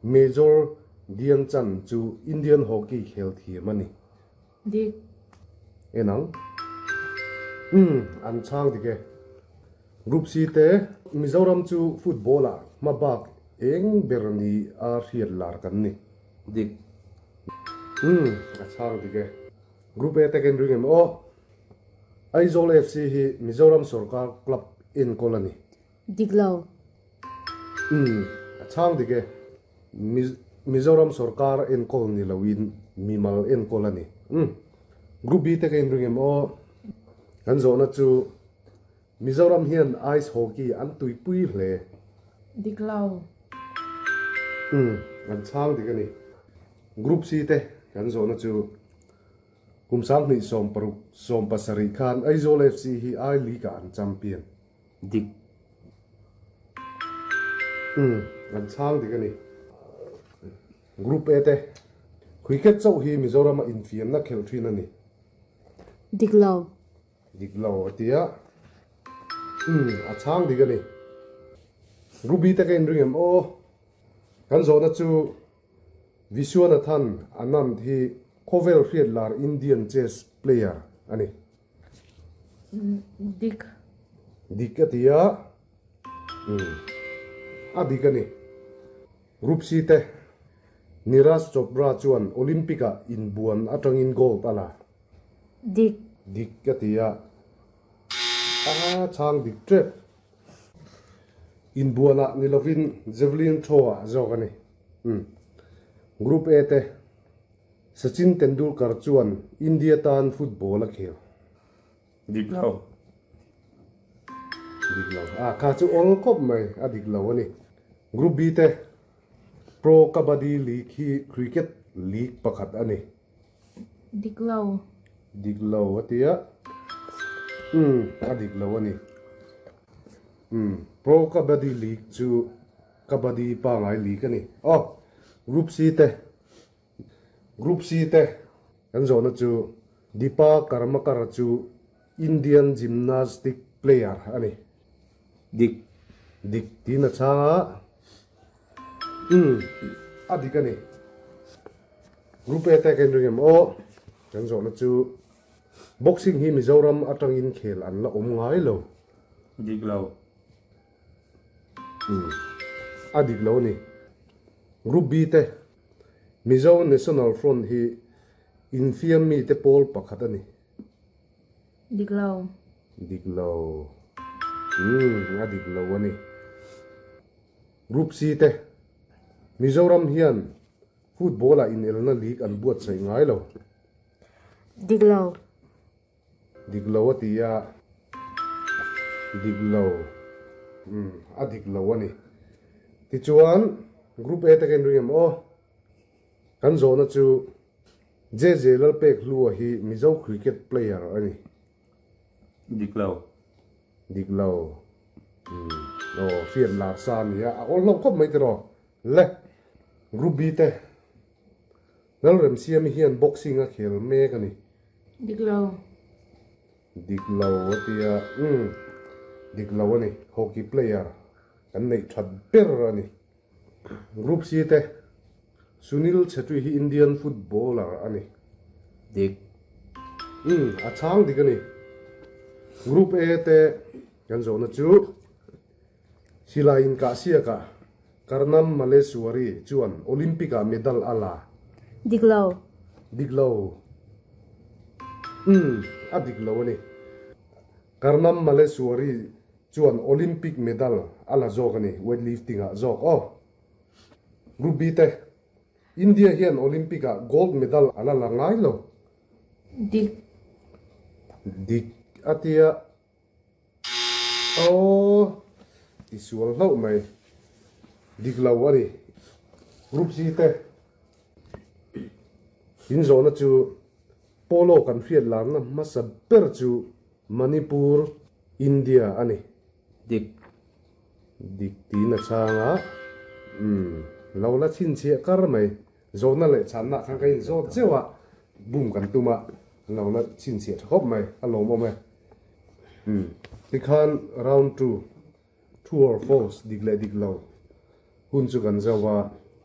Major Dhyan Chand chu Indian hockey khel thiam a ni. Dik. En ang. Umm, an chhang dik e. Group C te, Mizoram chu football ah hma bak eng ber ni a hriat lar kan ni. Dik. Umm, a chhang dik e. Group A te ka inring em aw. Aizawl FC hi Mizoram sorkar club enkawl a ni. Dik lo. Umm, a chhang dik e. Mizoram sorkar enkawl ni loin mimal enkawl a ni. Umm, Group B te ka inring em aw. Kan zawhna chu Mizoram hian Ice Hockey an tuipui hle. Dik lo. Umm, an chhang dik a ni. Group C te kan zawhna chu kum 2016 17 khan Aizawl FC hi I League ah an champion. Dik. Umm, an chhang dik a ni. Group A te, Cricket chauh hi Mizorama infiamna khelh thin a ni. Dik lo. Dik lo a ti a. Umm, a chhang dik a ni. Group B te ka inring em aw. Kan zawhna chu Viswanathan Anand hi khawvel hriat lar Indian chess player a ni. Dik. Dik a ti a. Umm. A dik a ni. Group C te, Neeraj Chopra chuan Olympic-ah inbuan atangin gold a la. Dik. Dik a ti a. A chhang dik tep. Inbuanah ni lovin javelin throw-ah zawk a ni. Umm. Group A te, Sachin Tendulkar chuan India tan football a khel. Dik lo. Dik lo. A kha chu awl khawp mai, a dik lo a ni. Group B te Pro Kabaddi League hi cricket league pakhat a ni. Dik lo. Dik lo a ti a. Umm, a dik lo a ni. Umm, Pro Kabaddi League chu Kabaddi pangai league a ni. Aw, Group C te Group C te kan zawhna chu Dipa Karmakar chu Indian gymnastic player a ni. Dik. Dik tiin a chhang a. Umm, a dik a ni. Group A te kan ring em aw? Kan zawhna chu Boxing hi Mizoram atangin khel an la awm ngai lo. Dik lo. Umm, a dik lo a ni. Group B te Mizo National Front hi infiam mite pawl pakhat a ni. Dik lo. Dik lo. Umm, a dik lo a ni. Group C te Mizoram hian football ah inelna league an buatsaih ngai lo. Dik lo. Dik lo a ti a, dik lo, umm, a dik lo a ni. Tichuan, Group A te ka inring em aw? Kan zawhna chu JJ Lalpekhlua hi Mizo cricket player a ni. Dik lo. Dik lo. Umm, aw, hriat lar sa a ni a, a awl hlauh khawp mai tiraw? Le, Group B te Lalremsiami hian boxing a khel mek a ni. Dik lo. Dik lo a ti a, umm, dik lo a ni. Hockey player kan neih that ber a ni. Group C te, Sunil Chhetri hi Indian footballer a ni. Dik. Umm, a chhang dik a ni. Group A te kan zawhna chu Silai inkahsiakah Karnam Malleswari chuan Olympic-ah medal a la. Dik lo. Dik lo. Umm, a dik lo a ni. Karnam Malleswari chuan Olympic medal a la zawk a ni, weightlifting-ah zawk aw. Group B te, India hian Olympic-ah gold medal a la la ngai lo. Dik. Dik a tia. Aw, i sual hlauh mai. Dik lo a ni. Group C te in zawhna chu Polo kan hriat larna hmasa ber chu Manipur, India a ni. Dik. Dik tiin a chhang a. Umm, lo la chhinchhiah kar mai. Zawhna leh chhanna khan ka inzawt zeuh a, bum kan tum a, an lo la chhinchhiah tha khawp mai, a lawmawm e. Umm, tikhan round two, true or false, dik leh dik lo hun chu kan zauh a.